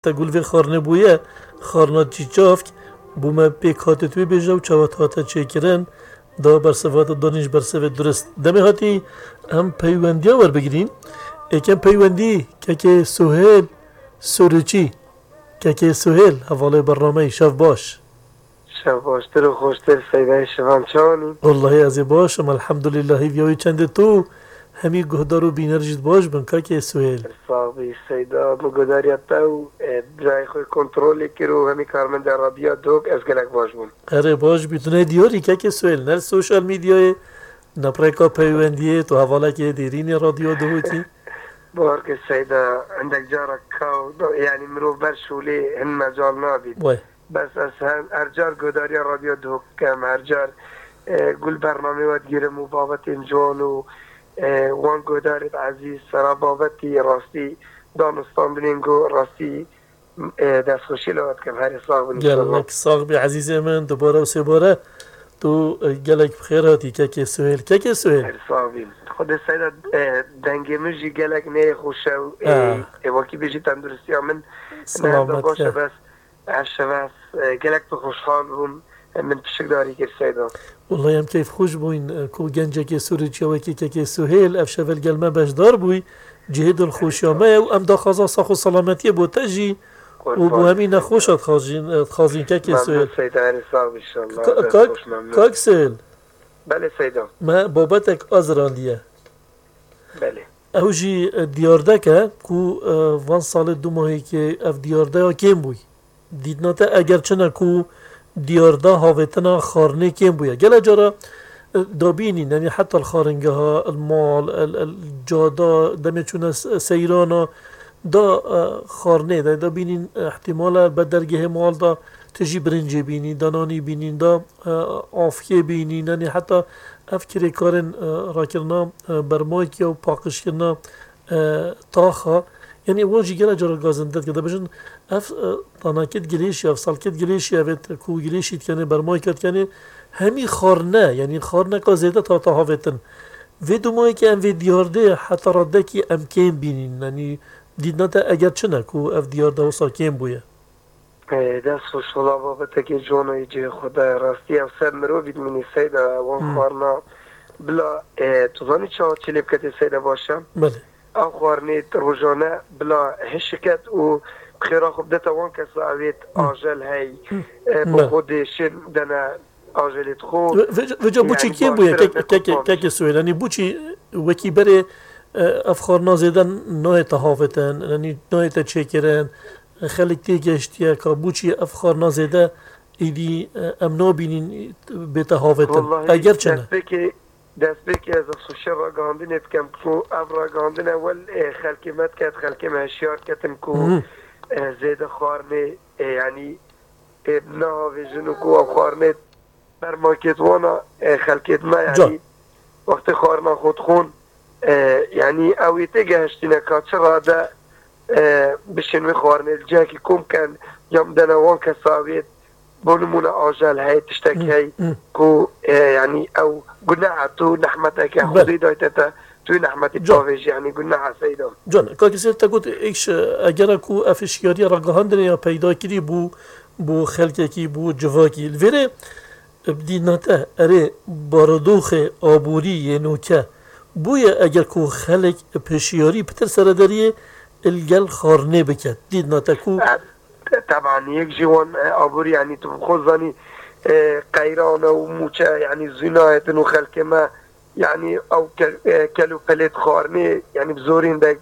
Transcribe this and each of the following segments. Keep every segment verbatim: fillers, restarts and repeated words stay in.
Te gul vê xarnê bûye, xarna çîçavk, bû me pêk hatê tu bêje û çawa hate çêkirin, da bersiva te danî ji bersivê durist. Demê hatî em peywendiya werbigirîn. Êkem peywendî, kekê Suhêl Sûriçî. Kekê Suhêl, hevalê bernameyî, şev baş. Şev baştir û xweştir Seyda, şevan çawanî? Wallahî ez ê baş im, elhamdulillah, hêviya wî çendê tu, hemî guhdar û bîner jî baş bin, kakê Suhêl. Sax bî Seyda, min guhdariya te û, e, birayê xwe kontrolê kir û hemî karmendê radyoya Dihok, ez gelek baş bûm. Erê baş bî, tu ne diyarî kakê Suhêl, ne li sosyal medyayê, ne bi rêka peywendiyê, tu hevalekê dêrînê radyoya Dihokî. Bawer ke Seyda, hindek cara kaw, yanî mirov ber şûlê hin mecal nabît. Wê. Bes ez her, her car guhdariya radyo Dihok dikim, her car, e, gul bernamê we digirim û babetên ciwan û, e, wan guhdarê ezîz sera babetî rastî danûstandinên ku rastî, e, destxweşî li we dikim. Herê sax bin inşallah. Gelek sax bî ezîzê min, dubare û sêbare tu, e, gelek bi xêr hatî kekê Suhêl. Kekê Suhêl. Her sax bîn. Xwedê Seyda, e, dengê min jî gelek neyê xweş e û, e, Ah. e, wekî bêjî tenduristiya min ne henda Selamet baş e, ke. Bes Ev şeve ez, e, gelek pir xweşhal bûm. E, min pişikdarî kir Seyda. Wallahî em keyfxweş bûyn, e, ku gencekê Sûrî çiyawekî kekê Suhêl ev şeve li gel me beşdar bûy. Cihê dilxweşiya me ye û em daxwaza sax û selametiyê bo te jî û bo hemî nexweşa dixwazîn, e, dixwazîn kekê Suhêl. Memnun Seyda, herî sax bî inşallah. Ka-, kak, kak Suhêl. Belê Seyda. Me babetek azirandiye. Belê. Ew jî, e, diyardek e ku, e, van salê du mahîkê ev diyardeya kêm bûy. Dîtina te eger çi ne ku diyarda havêtina xarnê kêm bûye. Gele cara, e, dabînî, yanî heta li xaringeha, li mal, el, el, cada, demê çûne se-, seyrana, da, e, xarnê, de, dabînîn, e, ihtimal e, be dergehê mal da tu jî birincê bînî, da nanî bînîn, da, e, afkê bînî, yanî heta ev kirêkarên, e, rakirina, e, bermaykiya û paqijkirina, e, taxa, yanî wan jî gele cara gazinde dike. Dibêjin, ev, e, tanakê digilêşî, ev salkê digilêşî, ev ê ku gilêşî dikenê, bermayka dikenê, hemî xarne, yanî xarneka zêde hate havêtin. Vê dumayê ke em vê diyardê heta radekî em kêm bînîn, yanî dîtina te eger çi ne ku ev diyarde wisa kêm bûye? E, dest xweş, wela babetekê ciwan e, cihê xwe de. Rastî ev ser mirovî dimînî Seyda, wan Hmm. xwarina bila, e, tu zanî çawa çi lê biketê Seyda baş e? Belê. Ev xwarinê rojane bila hişiket û xêra xwe bidete wan kesa evêt Hmm. ajel hey, Hmm. e, bo Belê. xwe dêşin dene ajelê dixwe. Ve-, ve-, veca Yani boçî kêm bûye, baştir kek-, e kek-, kutlamış. Kekê Suhêl. Yanî boçî wekî berê, e, ev xwarina zêde nayête havêtin, yanî nayête çêkirin, e, xelk tê geştiye ka boçî ev xwarina zêde êdî, e, em nabînîn bête havêtin. Wallahî Eger çi ne? destpêkê, destpêkê ez xweşiya ragihandinê dikim ku ev ragihandine wel, e, xelkê me diket, xelkê me hişyar ketin ku, Mhm. e, zêde xwarinê, e, yanî, e, nehavêjin û ku ev xwarinê bermakêt wana, e, xelkêt me, Can. yanî wextê xwarina xwe dixwin, e, yanî ew ê têgehiştîne ka çi rade, e, bişên wê xwarinê li cihekî kom ken, ya bidene wan kesa wê, bo nimûne ajel hey, tiştek Hı, hey, hı. ku, e, yanî ew guneh e, tu nehmeteke Bel. Xwedê dayte te, tu yê nehmetî Can. bavêjî, yanî guneh e Seyda. Can, kakî Seyda te got, êk ji, egera ku ev hişyariya ragihandinê ya peyda kirî bû, bû xelkekî, bû civakî. Li vêrê, bi dîtina te, erê, barodoxê aborî yê nûke bûye eger ku xelk pêşiyarî pitir seredariyê li gel xwarinê biket. Dîtina te ku E, te-, teban yek ji wan, e, aborî, yanî tu bi xwe zanî, e, qeyran e û mûçe, yanî zû nayêtin û xelkê me, yanî ew ke-, e, kel û pelêt xwarinê, yanî bi zorî hindek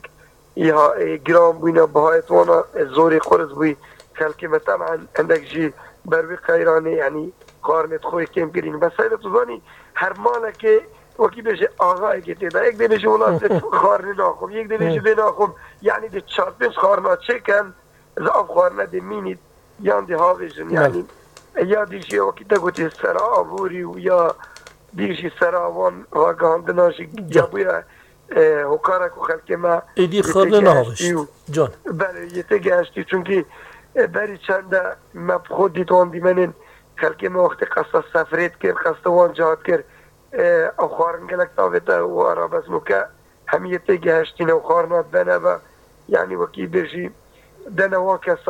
îha, e, giran bûyne, bihayê wana, e, zorî qurz bûyî. Xelkê me teban hindek jî ber wî qeyranê, yanî xwarinê xwe yê kêm kirîn. Bes Seyda tu zanî, her malekê wekî bêje axayekê tê de. Yek dê bêje wela ez xwarinê naxwim, yek dê bêje Hı. vê naxwim. Yanî dê çar pênc xwarina çêken, ez ev xwarine dê mînît, yan dê havêjin. Bel. Yanî, e, ya dî jî wekî te gotî sera aborî û ya dî jî sera wan ragihandina jî Can. ya bûye, e, hokara ku xelkê me Êdî yê xarine têgehiştî nehavişt. û Can. Belê, yê têgehiştî, çunkî, e, berî çend de me bi xwe dît wan dîmenên xelkê me wextê qesta sefrê dikir, qesta wan cihat kir, e, ew xwarin gelek tavête û ara bes nûke hemî yê têgehiştîne û xwarina dibene ve, yanî wekî bêjî, dene wan kesa